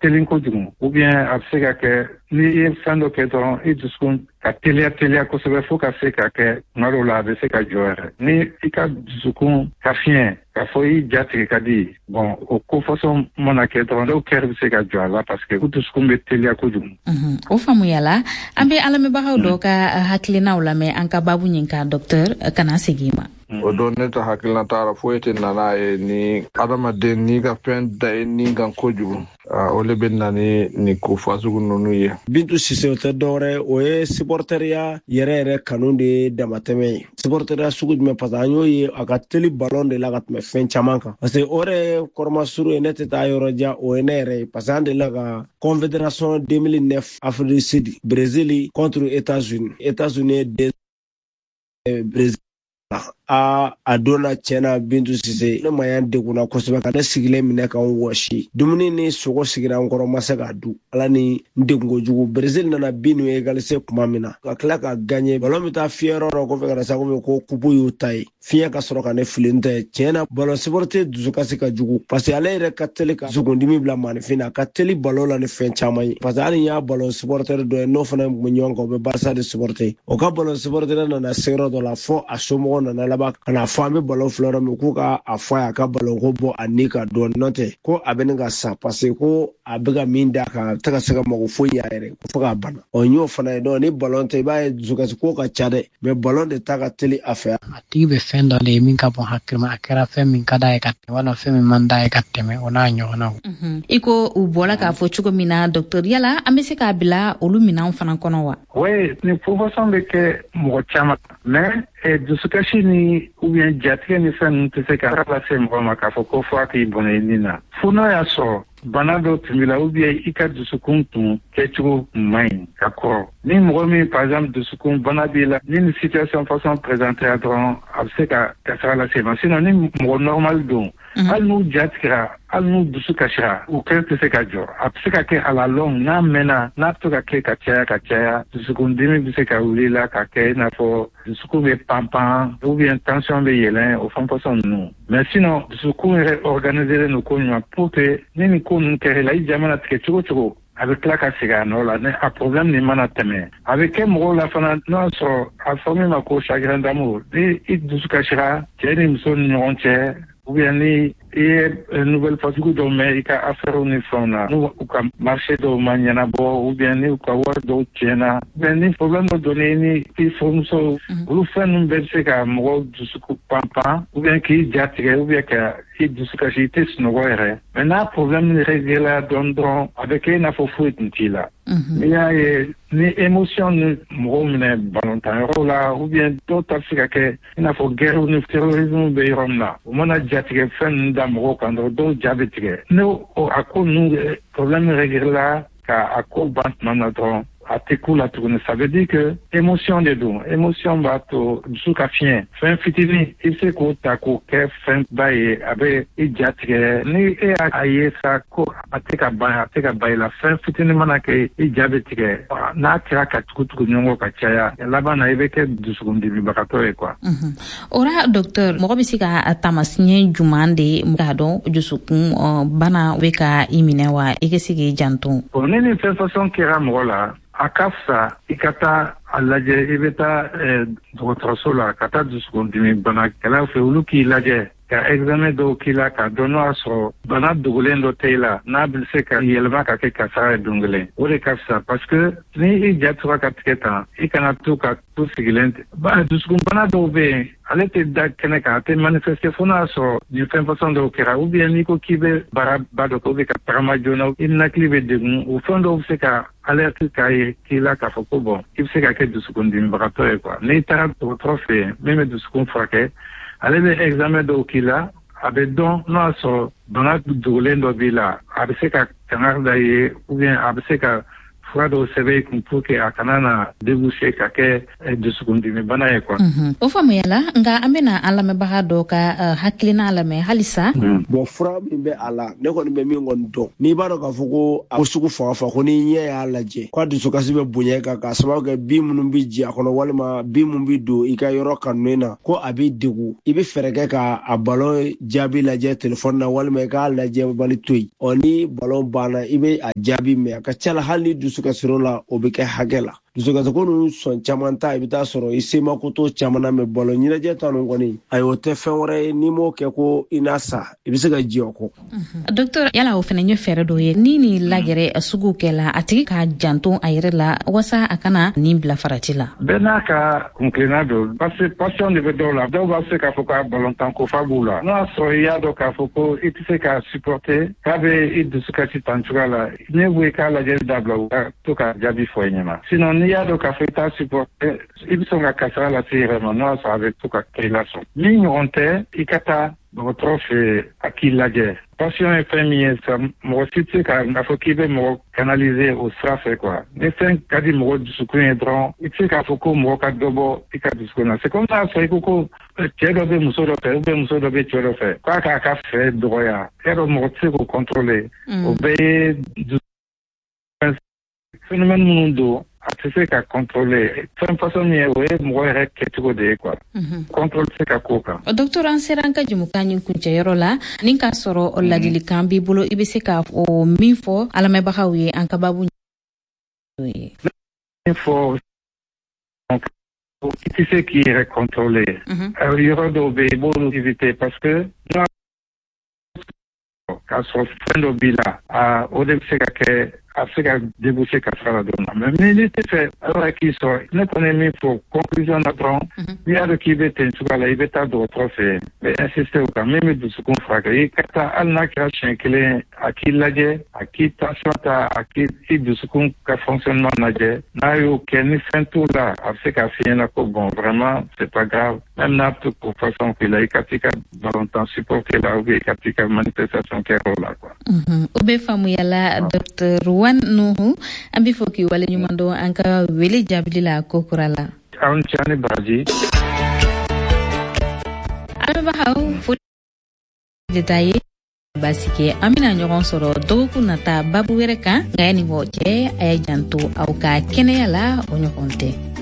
teli kojugu, ou bien a bɛ se ka kɛ n'i ye fɛn dɔ kɛ dɔrɔn, i dusukun ka teliya teliya kosɛbɛ fo ka se ka kɛ tuma dɔw la a bɛ se ka jɔ yɛrɛ. Ni i ka dusukun ka fiɲɛ k'a fɔ i ja tigɛ ka di, bon, o ko façon mana kɛ dɔrɔn, dɔw cœur bɛ se ka jɔ a la parce que u dusukun bɛ teliya kojugu. O faamuyala. An bɛ an lamɛnbagaw dɔ ka hakilinaw lamɛn an ka baabu ɲin kan. Docteur, kana segin i ma. O don, ne ta hakilina t'a foyi tɛ nana ye ni adamaden n'i ka fɛn da i ni kan kojugu, o le bɛ na ni nin ko fasugu ninnu ye. Bintu Sise, o tɛ dɔwɛrɛ, o ye supporteriya yɛrɛ yɛrɛ kanu de ye damatɛmɛ ye. Supporteriya sugu jumɛn? Parce que an y'o ye, a ka teli balon de la ka tɛmɛ fɛn caman kan, parce que o yɛrɛ ye kɔrɔmasuru ye. Ne tɛ taa yɔrɔ jan, o ye ne yɛrɛ ye, parce que an delila ka Confédération 2009 Afrique du Sud, Brésil contre États-Unis, États-Unis ye Brésil a donna. Tiɲɛna, Bintu Sise, ne ma y'an degunna kosɛbɛ ka ne sigilen minɛ ka n wɔsi. Dumuni ni sogo sigira n kɔrɔ, ma se k'a du. Ala ni n degun kojugu. Brésil nana bin n'u égaliser tuma min na, ka tila ka gagner, ballon bɛ taa fiyɛ yɔrɔ dɔ kɔfɛ ka na sa ko coupe y'u ta ye, fiɲɛ ka sɔrɔ ka ne fili. N tɛ, tiɲɛna, ballon supporter dusukasi ka jugu, parce que ale yɛrɛ ka teli ka dusukundimi bila maanifin na. A ka teli ballon la ni fɛn caman ye, parce que hali n y'a ballon supporter dɔ ye, n'o fana tun bɛ ɲɔgɔn kan, o bɛ Barça de supporter. O ka ballon supporter nana se yɔrɔ dɔ la fo a somɔgɔw nana laban ka na fɔ an bɛ ballon filɛ yɔrɔ min, k'u ka a fɔ a ye a ka ballon ko bɔ a ni ka dɔɔni, n'o tɛ ko a bɛ ne ka sa, parce que ko a bɛ ka min d'a kan, a tɛ ka se ka mago foyi ɲɛ a yɛrɛ ko fo k'a bana. Ɔ, n y'o fana ye. Donc ni ballon tɛ, i b'a ye dusukasi ko ka ca dɛ, mais ballon de ta ka teli a fɛ. A tigi bɛ fɛn dɔ de ye min ka bon hakili ma, a kɛra fɛn min ka d'a ye ka tɛmɛ walima fɛn min man d'a ye ka tɛmɛ, o n'a ɲɔgɔnnaw. I ko u bɔra k'a fɔ cogo min na, docteur, yala an bɛ se k'a bila olu minɛnw fana kɔnɔ wa? Oui, ni façon bɛ kɛ mɔgɔ caman, mais dusukasi ni ou bien jatigɛ ni fɛn ninnu tɛ se ka lase mɔgɔ ma k'a fɔ ko fo a k'i bɔnɛ i ni na, fo n'a y'a sɔrɔ bana dɔ tun b'i la ou bien i ka dusukun tun kɛcogo tun man ɲi ka kɔrɔ. Ni mɔgɔ min, par exemple, dusukun bana b'i la, ni nin situation façon présentera dɔrɔn, a bɛ se ka kasara lase ma. Sinon, ni mɔgɔ normal don, hali n'u ja tigɛra, hali n'u dusu kasira, u cœur tɛ se ka jɔ. A bɛ se ka kɛ à la longue, n'a mɛnna, n'a bɛ to ka kɛ ka caya ka caya, dusukundimi bɛ se ka wuli la ka kɛ i n'a fɔ dusukun bɛ panpan ou bien tension bɛ yɛlɛn, o fɛn façon ninnu. Mais sinon, dusukun yɛrɛ organisé don ko ɲuman pour que ni nin ko ninnu kɛra i la, i ja mana tigɛ cogo cogo, a bɛ tila ka segin a nɔ la. Ni a problème nin mana tɛmɛ, a bɛ kɛ mɔgɔw la fana, n'o y'a sɔrɔ a fɔ min ma ko chagrin d'amour, ni i dusu kasira cɛ ni muso ni ɲɔgɔn cɛ, ou bien ni i ye nouvelle fasugu dɔw mɛn i ka affaire ni fɛnw na, n'u u ka marché dɔw ma ɲɛnabɔ, ou bien ni u ka wari dɔw tiɲɛna, ou bien ni problème dɔ donna ni i furumuso, olu fɛn ninnu bɛɛ bɛ se ka mɔgɔw dusukun panpan, ou bien k'i ja tigɛ, ou bien ka i dusu kasi, i tɛ sunɔgɔ yɛrɛ. Mais n'a problème réglé dɔɔni dɔrɔn, a bɛ kɛ i n'a fɔ foyi tun t'i la. N'i y'a ye ni émotion ni mɔgɔw minɛ balontan yɔrɔw la, ou bien dɔw ta bɛ se ka kɛ i n'a fɔ guerre ni terrorisme bɛ yɔrɔ min na, u mana jatigɛ fɛn ninnu da mɔgɔw kan dɔrɔn, dɔw ja bɛ tigɛ. N'o a ko ninnu problème réglé la ka a ko ban tuma min na dɔrɔn, a tɛ k'u la tuguni. Ça veut dire que émotion de don. Émotion b'a to dusu ka fiɲɛ. Fɛn fitinin, i bɛ se k'o ta k'o kɛ fɛn ba ye, a bɛ i ja tigɛ. Ni e y'a ye sa ko a tɛ ka ban, a tɛ ka ban i la, fɛn fitinin mana kɛ, i ja bɛ tigɛ. N'a kɛra ka tugu tugu ɲɔgɔn kɔ ka caya, laban na i bɛ kɛ dusukundimibagatɔ ye quoi. O ra, docteur, mɔgɔ bɛ se ka taamasiɲɛ juman de k'a dɔn dusukun bana bɛ ka i minɛ wa, i ka se k'i janto? Bon, ni nin fɛn façon kɛra mɔgɔ la, a ka fisa i ka taa a lajɛ. I bɛ taa dɔgɔtɔrɔso la ka taa dusukundimi banakɛlaw fɛ, olu k'i lajɛ ka examen dɔw k'i la k'a dɔn n'o y'a sɔrɔ bana dogolen dɔ tɛ i la, n'a bɛ se ka yɛlɛma ka kɛ kasara ye don kelen. O de ka fisa, parce que ni i ja tora ka tigɛ tan, i kana to ka to sigilen. Dusukunbana dɔw bɛ yen, ale tɛ da kɛnɛ kan, a tɛ manifester fo n'a y'a sɔrɔ nin fɛn façon dɔw kɛra, ou bien n'i ko k'i bɛ baaraba dɔ kɛ, ou bien ka tagama joona, i ninakili bɛ degun. O fɛn dɔw bɛ se ka alerte k'a ye k'i la k'a fɔ ko bon, i bɛ se ka kɛ dusukundimibagatɔ ye quoi. N'i taara dɔgɔtɔrɔ fɛ yen min bɛ dusukun furakɛ, ale bɛ examen dɔw k'i la, a bɛ dɔn n'o y'a sɔrɔ bana dogolen dɔ b'i la, a bɛ se ka kangari da i ye, ou bien a bɛ se ka fura dɔw k'i la. fura dɔw sɛbɛn i kun pour que a kana na déboucher ka kɛ dusukundimi bana ye quoi. O faamuyala, nka an bɛna an lamɛnbaga dɔ ka hakilina lamɛn halisa. Bon, fura min bɛ a la, ne kɔni bɛ min kɔni dɔn, n'i b'a dɔn k'a fɔ ko a ko sugu fanga fa ko n'i ɲɛ y'a lajɛ k'a dusukasi bɛ bonya kan k'a sababu kɛ bin minnu bɛ ji a kɔnɔ walima bin minnu bɛ don i ka yɔrɔ kanunen na, ko a b'i degun, i bɛ fɛɛrɛ kɛ ka a balon jaabi lajɛ telefɔni na walima i k'a lajɛ bali to yen. Ɔ, ni balon banna, i bɛ a jaabi mɛn. A ka ca la, hali ni dusukasir'o la, o bɛ kɛ hakɛ la. Dusukasiko ninnu sɔn caman ta, i bɛ taa sɔrɔ i semako to caman na. Mɛ balon ɲɛnajɛ ta ninnu kɔni, ayi, o tɛ fɛn wɛrɛ ye. N'i m'o kɛ ko i n'a sa, i bɛ se ka jɛ o kɔ. Docteur, yala o fana ye fɛɛrɛ dɔ ye ni nin lagɛrɛ sugu kɛla, a tigi k'a janto a yɛrɛ la walasa a kana nin bila farati la? Bɛɛ n'a ka kunkilenna don, parce que passion de bɛ dɔw la. Dɔw b'a se k'a fɔ k'a balontan ko fa b'u la. N'o y'a sɔrɔ i y'a dɔn k'a fɔ ko i tɛ se k'a supporter, k'a bɛ i dusu kasi tan cogoya la, ne ko i k'a lajɛli dabila, u ka to ka jaabi fɔ i ɲɛna. Sinon, n'i y'a dɔn k'a fɔ i t'a supporter, i bɛ sɔn ka kasara lase i yɛrɛ ma, n'o y'a sɔrɔ a bɛ to ka kɛ i la sɔn. Min ɲɔgɔn tɛ, i ka taa dɔgɔtɔrɔ fɛ, a k'i lajɛ. Passion ye fɛn min ye sa, mɔgɔ si tɛ se k'a fɔ k'i bɛ mɔgɔ canaliser o sira fɛ quoi. Ni fɛn ka di mɔgɔ dusukun ye dɔrɔn, i tɛ se k'a fɔ ko mɔgɔ ka dɔ bɔ i ka dusukun na. C'est comme n'a sɔrɔ i ko ko cɛ dɔ bɛ muso dɔ fɛ ou bien muso dɔ bɛ cɛ dɔ fɛ, k'a k'a ka fɛ dɔgɔya. E y'a dɔn, mɔgɔ tɛ se k'o contrôler. O bɛɛ ye phénomène minnu don, a tɛ se ka contrôler. Fɛn façon min ye, o ye mɔgɔ yɛrɛ kɛcogo de ye quoi. Contrôle tɛ se ka k'o kan. Docteur, an sera an ka jɛmukan nin kuncɛyɔrɔ la. Ni k'a sɔrɔ ladilikan b'i bolo, i bɛ se ka o min fɔ an lamɛnbagaw ye an ka babu ye? Min fɔ, i tɛ se k'i yɛrɛ contrôler. Yɔrɔ dɔw bɛ yen, i b'olu éviter, parce que n'a k'a sɔrɔ fɛn dɔ b'i la, o de bɛ se ka kɛ, a bɛ se ka déboucher kasara la don na. Mais n'i tɛ fɛ ala k'i sɔrɔ, ne kɔni ye min fɔ conclusion na dɔrɔn, n'i y'a dɔn k'i bɛ ten cogoya la, i bɛ taa dɔgɔtɔrɔ fɛ yen. N bɛ insister o kan, min bɛ dusukun furakɛ, i ka taa, hali n'a kɛra siɲɛ kelen, a k'i lajɛ, a k'i tension ta, a k'i i dusukun ka fonctionnement lajɛ. N'a y'o kɛ, ni fɛn t'o la, a bɛ se k'a f'i ɲɛna ko bon, vraiment, c'est pas grave, même n'a bɛ to k'o façon k'i la, i ka t'i ka balontan supporter la ou bien i ka t'i ka manifestation kɛ yɔrɔ la quoi. O bɛ faamuyala. Docteur Wan Nuhu, an bɛ fɔ k'i waleɲuman dɔn an ka wele jaabili la kokura la. Aw ni ce, ani baraji. Lamɛnbagaw, foli de ta ye basi kɛ. An bɛna ɲɔgɔn sɔrɔ dɔgɔkun nata babu wɛrɛ kan. Nka yanni k'o cɛ, a y'a janto aw ka kɛnɛya la, o ɲɔgɔn tɛ.